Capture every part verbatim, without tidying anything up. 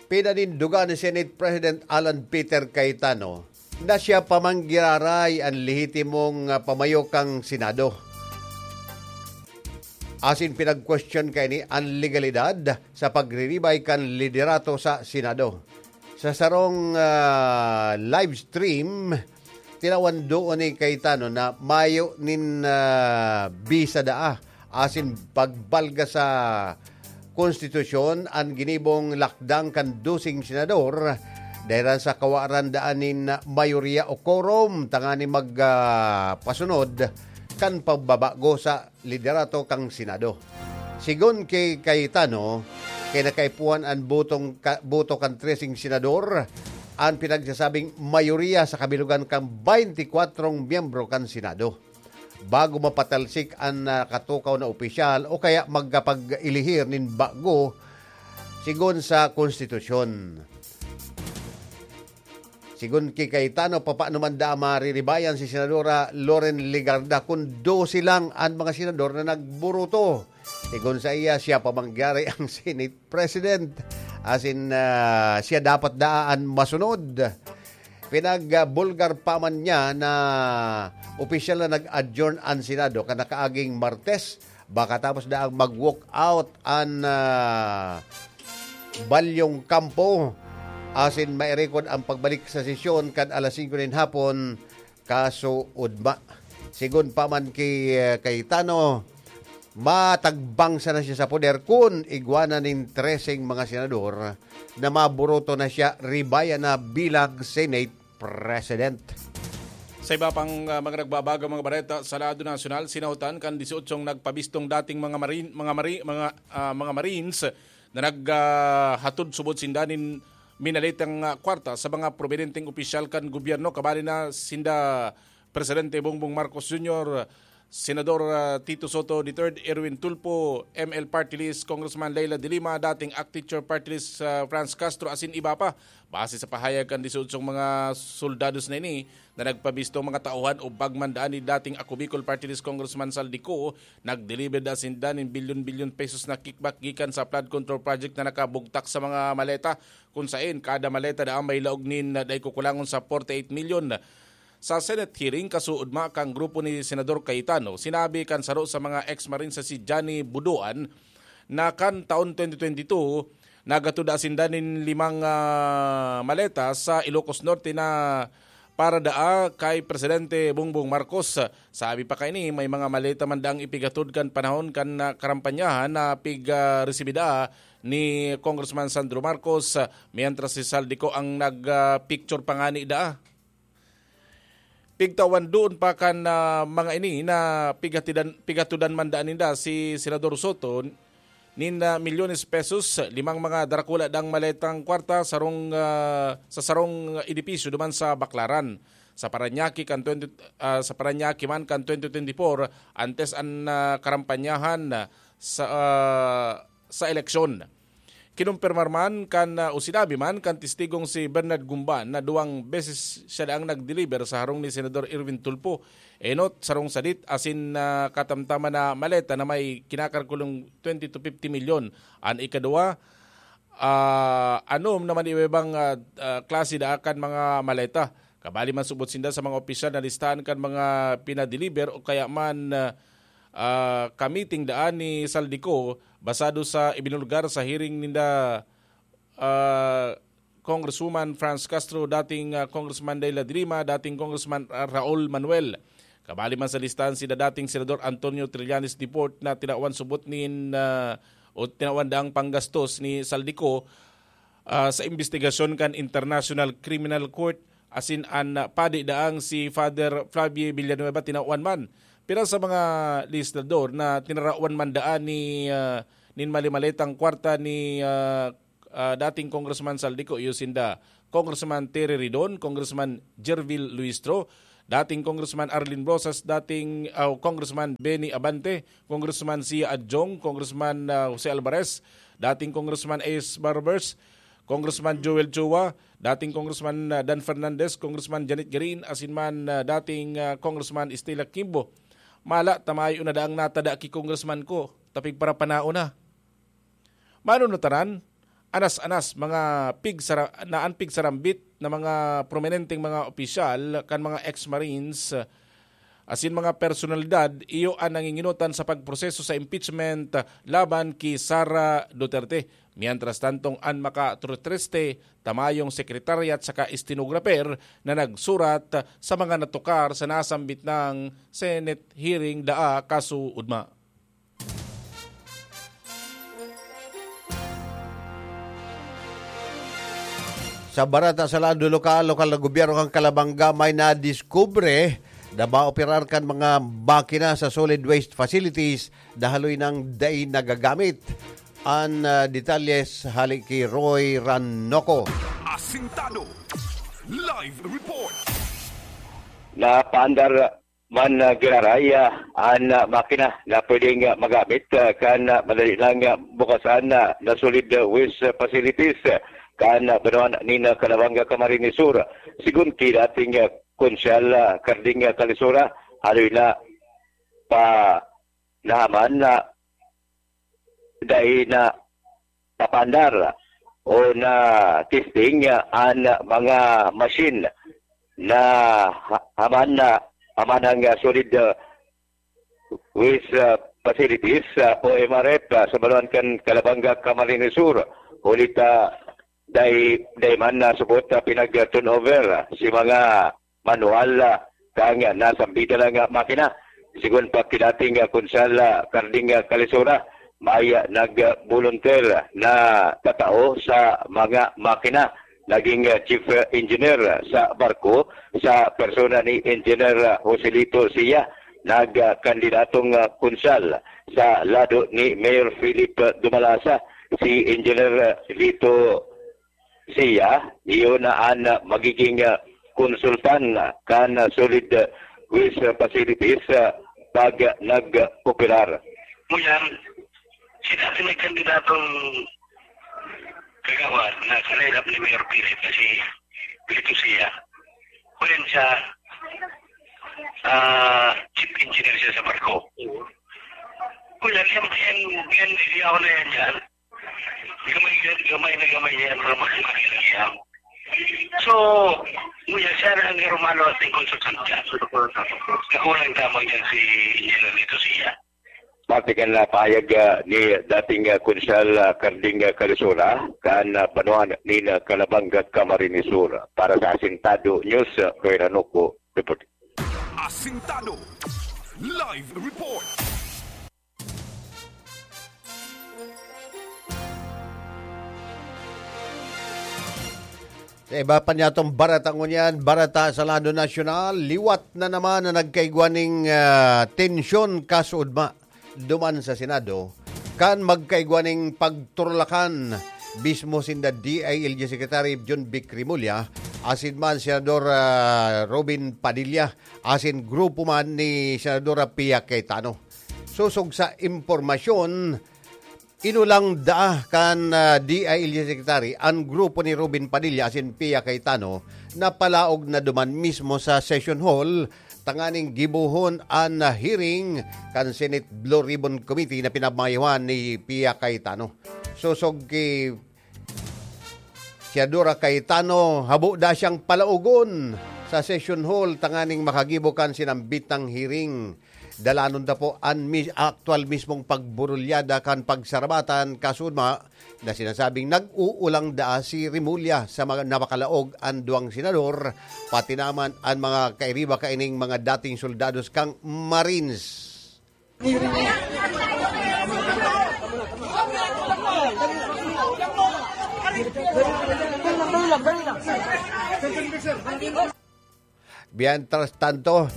Pinanindugan ni Senate President Alan Peter Cayetano na siya pa man giraray an lehitimong, ah, pamayo kan Senado. Asin pinag-question kaini an legalidad sa pagriribay kan liderato sa Senado. Sa sarong, ah, live stream, tinawan doon ni Cayetano na mayo nin, ah, bisa daa asin pagbalga sa konstitusyon an ginibong lakdang kan doseng senador, dahelan sa kawaran daan nin mayorya o quorum tanganing mag, ah, pasunod kan pagbabago sa liderato kan Senado. Sigon ki Cayetano, kinakaipuhan an botong ka-, boto kan treseng senador an pinagsasabing mayorya sa kabilugan kan baynti kwatro miyembro kan Senado bago mapatalsik an nakatukaw na opisyal o kaya magkapag-ilihir nin bago sigon sa konstitusyon. Sigon ki Cayetano, papaano man daa mariribayan si Senadora Loren Legarda kun dose lang an mga senador na nagburuto? Sigon sa iya, siya pa man giraray ang Senate President. Asin, ah, siya dapat daa an masunod. Pinagbulgar pa man niya na opisyal na nag-adjourn an Senado kan nakaaging Martes, baka tapos daang mag-walk out an, ah, balyong kampo asin mairekod ang pagbalik sa sesyon kan alas singko nin hapon, kaso ugma. Sigon pa man ki, ah, Cayetano, matagbang sana siya sa poder kun igwa na nin treseng mga senador na maburuto na siya, ribaya na bilang Senate President. Sa iba pang, ah, mga nagbabagang mga bareta sa lado nasyonal, sinahutan kan disyotsyong nagpabistong dating mga marin-, mga mari-, mga, ah, mga Marines na nag, ah, hatod subod sinda nin minaletang, ah, kwarta sa mga prominenteng opisyal kan gobyerno, kabali na sinda Presidente Bongbong Marcos Junior, Senador, ah, Tito Soto the third, Erwin Tulfo, M L Party List, Congressman Leila de Lima, dating ACT-CHOR Party List, ah, Franz Castro, asin iba pa. Base sa pahayag kan disotsyong mga soldados na ini na nagpabisto, mga tauhan o bagman daan ni dating Ako Bicol Party List Congressman Saldico, nag-deliver da sinda nin bilyon-bilyon pesos na kickback gikan sa flood control project na nakabugtak sa mga maleta, kun saen kada maleta daan may laog nin, ah, dai kukulangon sa forty-eight million. Sa Senate hearing, kasuodma kan grupo ni Senador Cayetano, sinabi kan saro sa mga ex-Marine sa si Johnny Buduan na kan taon twenty twenty-two, naghatod daa sinda nin limang, ah, maleta sa Ilocos Norte na para daa kay Presidente Bongbong Marcos. Sabi pa kaini, may mga maleta man daang ipighatod kan panahon kan, ah, karampanyahan na pig, ah, resibi daa ni Congressman Sandro Marcos, ah, mientras si Saldico ang nag, ah, picture pa ngani daa. Pigtawan doon pa kan, ah, mga ini na pighatidan, pighatudan man daan ninda si Senador Soto nin, ah, milyones pesos, limang mga darakula dang maletang kwarta, sarong, ah, sa sarong edipisyo duman sa Baclaran. Sa Parañaque kan twenty, ah, sa Parañaque man kan twenty twenty-four, antes an, ah, karampanyahan, ah, sa, ah, sa eleksyon. Kinumpirmar man kan, ah, o sinabi man kan testigong si Bernard Gumban na duwang beses siya daang nag-deliver sa harong ni Senador Erwin Tulfo. Enot, sarong sadit asin, ah, katamtaman na maleta na may kinakalkulong twenty to fifty milyon. An ikaduwa, ah, anom naman iba-ibang, ah, ah, klase daa kan mga maleta. Kabali man subot sinda sa mga opisyal na listahan kan mga pinadeliver o kaya man, ah, ah, kamiting daan ni Saldico basado sa ibinulgar sa hearing ninda, ah, Congresswoman Franz Castro, dating, ah, Congressman Leila de Lima, dating Congressman, ah, Raul Manuel. Kabali man sa listahan sina dating Senador Antonio Trillanes Deport na tinawan subot nin, ah, o tinawan daang panggastos ni Saldico, ah, sa imbestigasyon kan International Criminal Court, asin an, ah, padi daang si Father Flavie Villanueva tinawan man. Pira sa mga legislador na tinarawan man daan ni, ah, nin malimaletang kwarta ni, ah, ah, dating Congressman Saldico, iyo sinda Congressman Terry Ridon, Congressman Gervil Luistro, dating Congressman Arlene Rosas, dating, ah, Congressman Benny Abante, Congressman Sia Adjong, Congressman, ah, Jose Alvarez, dating Congressman Ace Barbers, Congressman Joel Chua, dating Congressman, ah, Dan Fernandez, Congressman Janet Garin, asin man, ah, dating, ah, Congressman Estela Kimbo. Mala, tamayo na daang natada ki congressman ko, tapig parapanao na. Mano na tanan? anas-anas mga pigsara-, na an pigsarambit na mga prominenteng mga opisyal kan mga ex-Marines, asin mga personalidad, iyo an nanginginotan sa pagproseso sa impeachment laban ki Sara Duterte. Mientras tantong an makatriste, ta mayong secretariat saka stenographer na nagsurat sa mga natukar sa nasambit nang Senate hearing daa kaso ugma. Sa barata sa lado lokal, lokal na gobyerno kan Calabanga may nadiskubre na maoperar kan mga makina sa solid waste facilities na haloy nang dai nagagamit. An, ah, detalles hali ki Roy Ranoco. Asintado. Live report. Napaandar man, ah, giraray, ah, an, ah, makina na pwedeng, ah, magamit, ah, kan, ah, madali lang, ah, bukasan na, na solid, ah, waste, ah, facilities, ah, kan, ah, banwaan nin, ah, Calabanga, Camarines Sur. Sigon ki dating, ah, Konsyal, ah, Carding, ah, Calisora, haloy na pa nahaman na dai na papaandar o na testing an mga machine na ha-, haman na, haman ang, ah, solid, ah, waste, ah, facilities, ah, o M R F, ah, sa banwaan kan Calabanga, Camarines Sur. Huli ta dai, dai man nasubot na pinag-turnover, ah, si mga manual, ah, kang, ah, nasambitan na makina. Sigon pa ki dating, ah, Konsyal, ah, Carding, ah, Calisora, may, ah, nag-volunteer na tatao sa mga makina. Naging, ah, chief, ah, engineer sa barko sa persona ni Engineer, ah, Joselito Sia, nagkandidatong, ah, konsyal sa lado ni Mayor Philip, ah, Dumalasa, si Engineer, ah, Lito Sia, iyo na an, ah, magiging, ah, konsultan, ah, kan, ah, solid, ah, waste, ah, facilities, ah, pag, ah, nag-operar. Ngunyan, si dati may kandidatong kagawad na sa lineup ni Mayor Philip na si Lito Sia. Ngunyan siya, ah, chief engineer siya sa barko. Ngunyan, yan, yan, yan, hindi ako na yan dyan. Gamay, gamay na gamay niya, pero mas makilala niya. So, ngunyan siya na ang rumalo at yung konsultante. Nakulang tama niya si Engineer Lito Sia. Parte kan, ah, pahayag, ah, ni dating, ah, Konsyal, ah, Carding, ah, Calisora, kan, ah, banwaan nin, ah, Calabanga, Camarines Sur. Para sa Asintado News, ah, Roy Ranoco, report. Asintado. Live report. Sa iba pa niyatong barata ngunyan, barata sa lado nasyonal, liwat na naman na nagkaigwa ning, ah, tensyon kaso ugma duman sa Senado, kan magkaigwa ning pagturlakan mismo sinda D I L G Secretary Jonvic Remulla, asin man Senador, ah, Robin Padilla, asin grupo man ni Senadora Pia Cayetano. Sosog sa impormasyon, inulang daa kan, ah, D I L G Secretary an grupo ni Robin Padilla asin Pia Cayetano na palaog na duman mismo sa session hall tanganing gibohon an, ah, hearing kan Senate Blue Ribbon Committee na pinamayohan ni Pia Cayetano. Sosog ki Senadora Cayetano, habo da siyang palaogon sa session hall tanganing makagibo kan sinambitang hearing. Dalanon ta po an mi-, aktual mismong pagburulyada kan pagsarabatan kaso ugma na sinasabing nag-uulang daa si Remulla sa mga napakalaog an duwang senador, pati naman an mga kairiba kaining mga dating soldados kan Marines. Mientras tanto,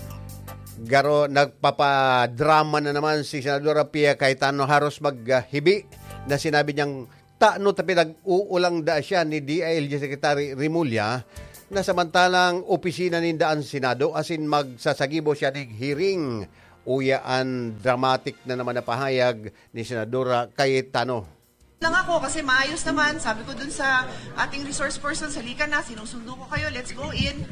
garo nagpapadrama na naman si Senadora Pia Cayetano, haros maghibi na sinabi niyang, "Tano ta pinag-uulang da siya ni D I L G Secretary Remulla, na samantalang opisina ninda an Senado, asin magsasagibo siya ning hearing." Uya an dramatic na naman na pahayag ni Senadora Cayetano. Lang ako kasi maayos naman. Sabi ko dun sa ating resource person, "Halika na, sinusundo ko kayo, let's go in."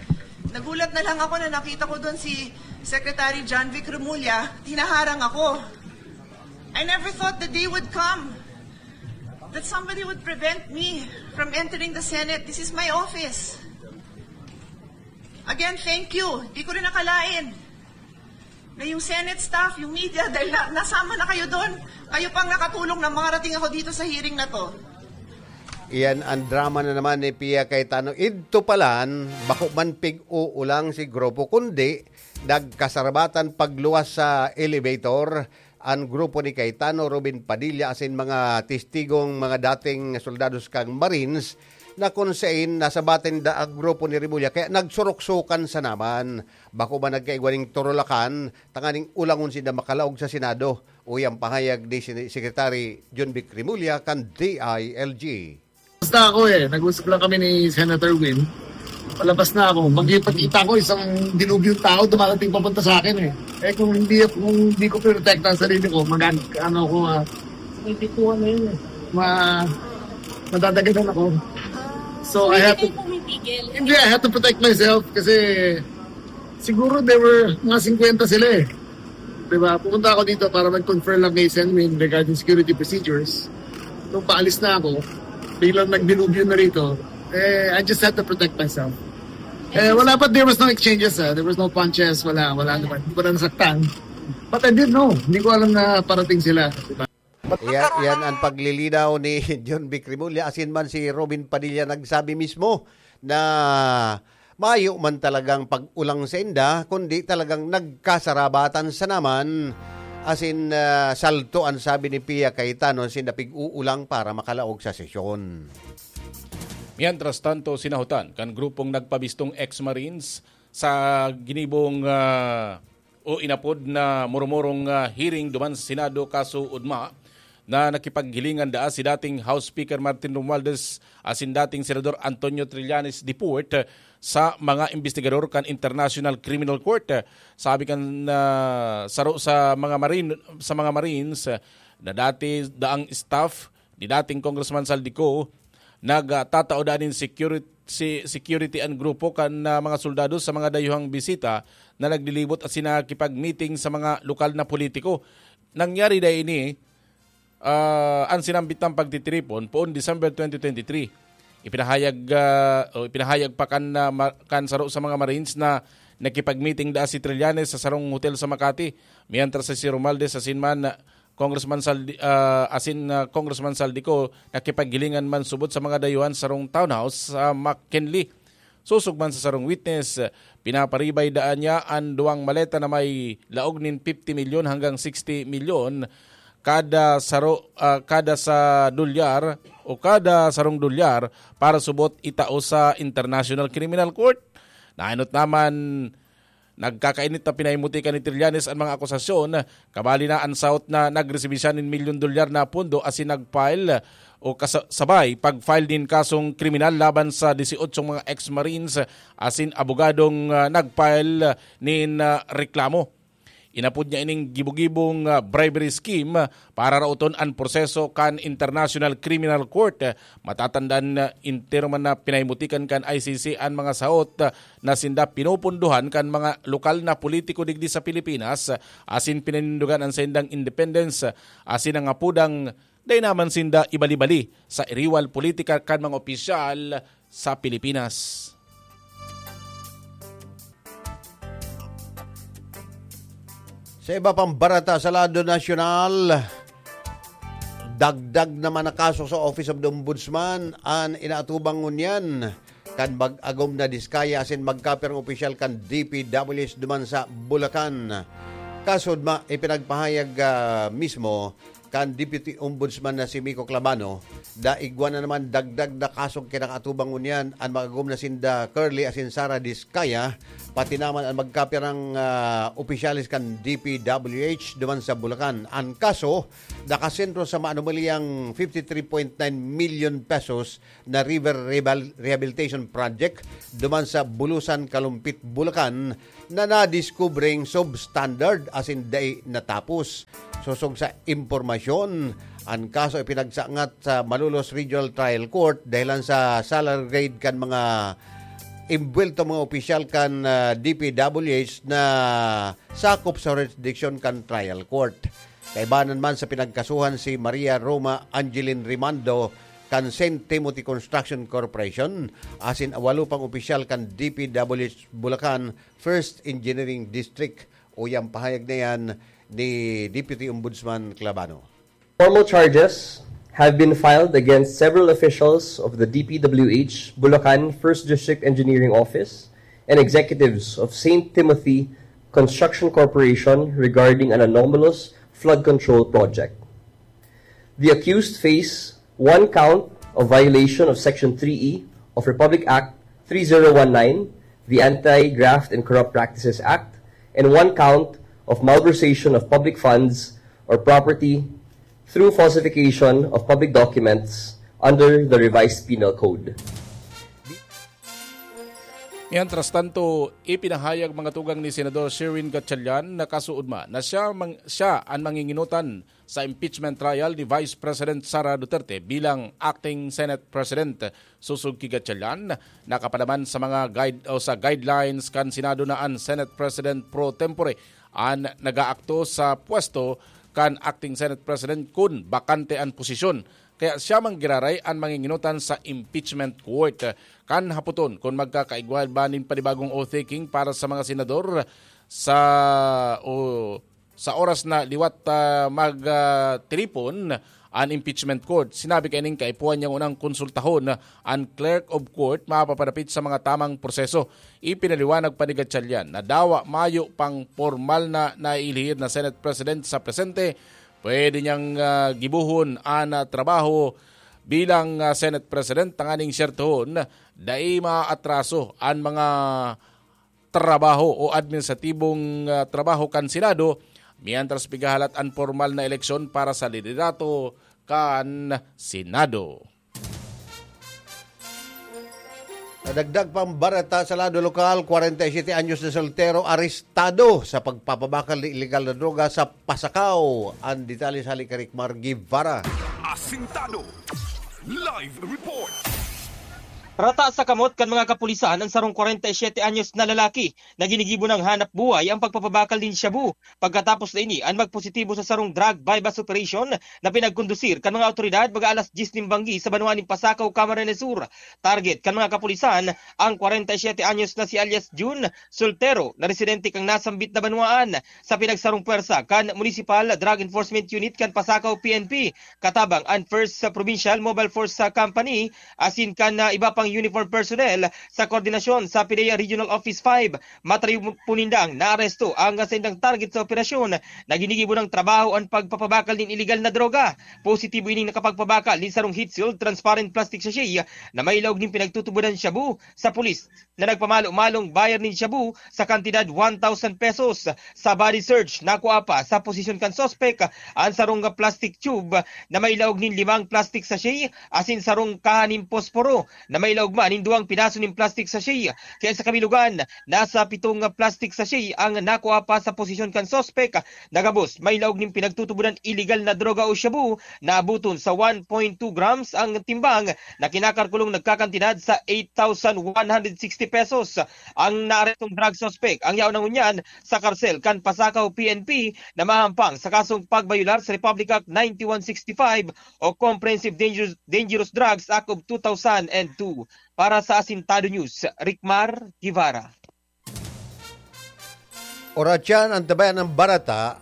Nagulat na lang ako na nakita ko dun si Secretary Jonvic Remulla, hinaharang ako. I never thought the day would come That somebody would prevent me from entering the Senate. This is my office. Again, thank you. Di ko rin nakalain na yung Senate staff, yung media, dahil na, nasama na kayo doon, kayo pang nakatulong na makarating ako dito sa hearing na to. Iyan ang drama na naman ni Pia Cayetano. Idto palan, bako man pig-uulang si grupo, kundi nagkasarabatan pagluwas sa elevator ang grupo ni Cayetano, Robin Padilla asin mga testigong mga dating soldados kan Marines na kun sain nasabatin da ang grupo ni Remulla kaya nagsuruksukan sa naman. Bako man nagkaigwa ning turulakan tanganing ulangon sinda makalaog sa Senado. Uya ang pahayag ni Sen- Secretary John Vic Remulla kan D I L G. Basta ako eh, nag-usap lang kami ni Senator Win. Palabas na ako. Magkipagkita ko, isang dilubyong tao dumarating papunta sa akin eh. Eh kung hindi, kung hindi ko pinotekta ang sarili ko, mag ano ko, ah, hindi ko ano yun eh. Ma, madadaganan ako. So I have to, Hindi pumipigil. hindi, I have to protect myself kasi siguro there were mga fifty sila eh. Diba? Pumunta ako dito para mag-confer lang kay Sen Win regarding security procedures. Nung paalis na ako, biglang nagdilubyo na rito, eh, I just had to protect myself. Eh, wala pa, there was no exchanges, ah. There was no punches, wala, wala naman. Hindi ko na nasaktan. But I didn't know. Hindi ko alam na parating sila. Diba? Yan, yan ang paglilinaw ni John Vic Remulla. Asin man si Robin Padilla nagsabi mismo na mayo man talagang pag-ulang sa inda, kundi talagang nagkasarabatan sa naman. Asin ah, salto ang sabi ni Pia Cayetano sinda pig-uulang para makalaog sa sesyon. Mientras tanto, sinahutan kan grupong nagpabistong ex-Marines sa ginibong ah, o inapod na murumurong ah, hearing duman sa Senado kaso ugma na nakipaghilingan daa si dating House Speaker Martin Romualdez asin dating Senador Antonio Trillanes Deport sa mga investigador kan International Criminal Court. Sabi kan ah, saro sa mga Marine sa mga Marines ah, na dati daang staff ni dating Congressman Zaldy Co, nagtatao daa nin security, si, security an grupo kan ah, mga soldado sa mga dayuhang bisita na naglilibot asin nakikipag-meeting sa mga lokal na politiko. Nangyari daa ini ah, an sinambit na pagtitiripon poon December twenty twenty-three. Ipinahayag ah, o ipinahayag pa kan ah, ma- kan saro sa mga Marines na nakipag-meeting daa si Trillanes sa sarong hotel sa Makati, mientras si Romualdez asin man ah, Congressman Zaldy, ah, asin ah, Congressman Zaldy Co nakipaghilingan man subot sa mga dayuhan sa sarong townhouse sa McKinley. Sosog man sa sarong witness, pinaparibay daa niya an duwang maleta na may laog nin fifty milyon hanggang sixty milyon kada saro ah, kada sa dolyar o kada sarong dolyar para subot itao sa International Criminal Court. Naenot naman, nagkakainit na pinahimutikan ni Trillanes an mga akusasyon, kabali na an sahot na nagresibi siya nin milyon dolyar na pondo asin nag-file o kasa- sabay pag-file nin kasong kriminal laban sa dieciocho mga ex-Marines asin abogadong ah, nag-file nin ah, reklamo. Inapod niya ining gibo-gibong ah, bribery scheme para raoton an proseso kan International Criminal Court. Matatandaan na entero man na pinahimutikan kan I C C an mga sahot ah, na sinda pinupundohan kan mga lokal na politiko digdi sa Pilipinas ah, asin pinanindugan an saindang independence ah, asin ang apodang dai naman sinda ibali-bali sa iriwal politika kan mga opisyal sa Pilipinas. Sa iba pang barata sa lado nasyonal, dagdag naman na kaso sa Office of the Ombudsman an inaatubang ngunyan kan mag-agom na diskaya asin magkapirang opisyal kan D P W H duman sa Bulacan. Kasudma, ipinagpahayag ah, mismo kan Deputy Ombudsman na si Miko Clabano, daigwa na naman dagdag na kasong kinakaatubang ngunyan an mag-agom na sinda Curly asin Sara Diskaya, pati naman ang magkapirang ah, opisyalis kan D P W H duman sa Bulacan. An kaso, nakasentro sa maanumalyang fifty-three point nine million pesos na river rehab- rehabilitation project duman sa Bulusan, Kalumpit, Bulacan na nadiskubreng substandard asin dai natapos. Sosog sa impormasyon, an kaso ipinagsangat sa Malolos Regional Trial Court dahilan sa salary grade kan mga imbuwelto mga opisyal kan ah, D P W H na sakop sa jurisdiction kan trial court. Kaibanan man sa pinagkasuhan si Maria Roma Angeline Rimando kan Saint Timothy Construction Corporation, asin walo pang opisyal kan D P W H Bulacan First Engineering District. Uyang pahayag na yan ni Deputy Ombudsman Clabano. Formal charges have been filed against several officials of the D P W H Bulacan First District Engineering Office and executives of Saint Timothy Construction Corporation regarding an anomalous flood control project. The accused face one count of violation of Section three E of Republic Act three zero one nine, the Anti-Graft and Corrupt Practices Act, and one count of malversation of public funds or property through falsification of public documents under the Revised Penal Code. Mientras tanto, ipinahayag mga tugang ni Senador Sherwin Gatchalian na kasuodma na siya, mang, siya an manginginutan sa impeachment trial ni Vice President Sara Duterte bilang acting Senate President. Sosog ki Gatchalian, nakapadaman sa mga guide o sa guidelines kan Senado na an Senate President pro tempore an nagaakto sa pwesto kan acting Senate President kun bakante an posisyon. Kaya siya man giraray an manginginutan sa impeachment court. Kan hapoton kun magkakaigwa ba nin panibagong oath-taking para sa mga senador sa, o sa oras na liwat, ah, mag, ah, tiripon an impeachment court. Sinabi kaining kaipuhan niyang unang konsultahon an clerk of court mapapadapit sa mga tamang proseso. Ipinaliwanag pa ni Gatchalian na dawa mayo pang pormal na nailihir na Senate President sa presente, pwede niyang, ah, gibohon an, ah, trabaho bilang, ah, Senate President, tanganing syertohon dai maatraso an mga trabaho o administratibong, ah, trabaho kan Senado, mientras pigahalat an pormal na eleksyon para sa liderato kan Senado. Nadagdag pang bareta sa lado lokal, kwarenta y siyete anyos na soltero arestado sa pagpapabakal ni ilegal na droga sa Pasacao. Ang detalye sa hali kay Rick Mar Guevara. Asintado. Live report. Rata sa kamot kan mga kapulisan ang sarong kwarenta y siyete anyos na lalaki na ginigibo ng hanap buhay ang pagpapabakal nin shabu. Pagkatapos na ini, an magpositibo sa sarong drug buy-bust operation na pinagkondusir kan mga awtoridad mga alas diyes nin banggi sa banwa nin Pasacao, Camarines Sur. Target kan mga kapulisan ang kwarenta y siyete anyos na si alias Jun, soltero na residente kan nasambit na banwaan. Sa pinagsarong pwersa kan Municipal Drug Enforcement Unit kan Pasacao P N P, katabang an First Provincial Mobile Force Company, asin kan, ah, iba pang uniform personnel sa koordinasyon sa PDEA Regional Office five, matayo po nindang naaresto ang saindang target sa operasyon na ginigibo ng trabaho an pagpapabakal nin iligal na droga. Positibo ining nakapagpabakal nin sarong heat-sealed transparent plastic sachet na may laog nin pinagtutubodan shabu sa pulis na nagpamalo-malong buyer nin shabu sa kantidad one thousand pesos. Sa body search, nakua pa sa posisyon kan suspek an sarong plastic tube na may laog nin limang plastic sachet asin sarong kaha nin posporo na may laog man nin duwang piraso nin plastic sachet. Kaya sa kabilugan, nasa pitong plastic sachet ang nakua pa sa posisyon kan suspek. Nagabos, may laog nin pinagtutubodan iligal na droga o shabu na abuton sa one point two grams ang timbang na kinakalkulong nagkakantidad sa eight thousand one hundred sixty pesos. Ang naarestong drug suspect ang yaon na ngunyan sa karsel kan Pasacao P N P na mahampang sa kasong pagbayular sa Republic Act ninety-one sixty-five o Comprehensive Dangerous, Dangerous Drugs Act of two thousand and two. Para sa Asintado News, Ricmar Guevara. Oratyan, ang tabayan ng barata,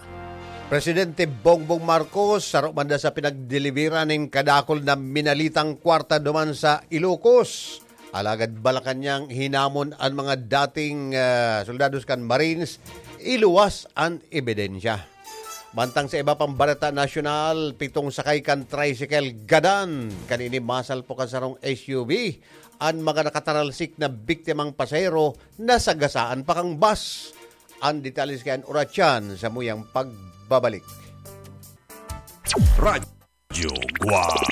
Presidente Bongbong Marcos, saro man da sa pinagdelibera nin kadakul na minalitang kwarta duman sa Ilocos. Alagad Malacañang hinamon an mga dating, ah, soldados kan Marines, iluwas an ebidensya. Mantang sa iba pang bareta nasyonal, pitong sakay kan tricycle gadan kan ini masalpok kan sarong S U V. An mga nakataralsik na biktimang pasahero nasagasaan pa kan bus. An detalye sa kan Oratyan sa muyang pagbabalik. Radyo Guwang.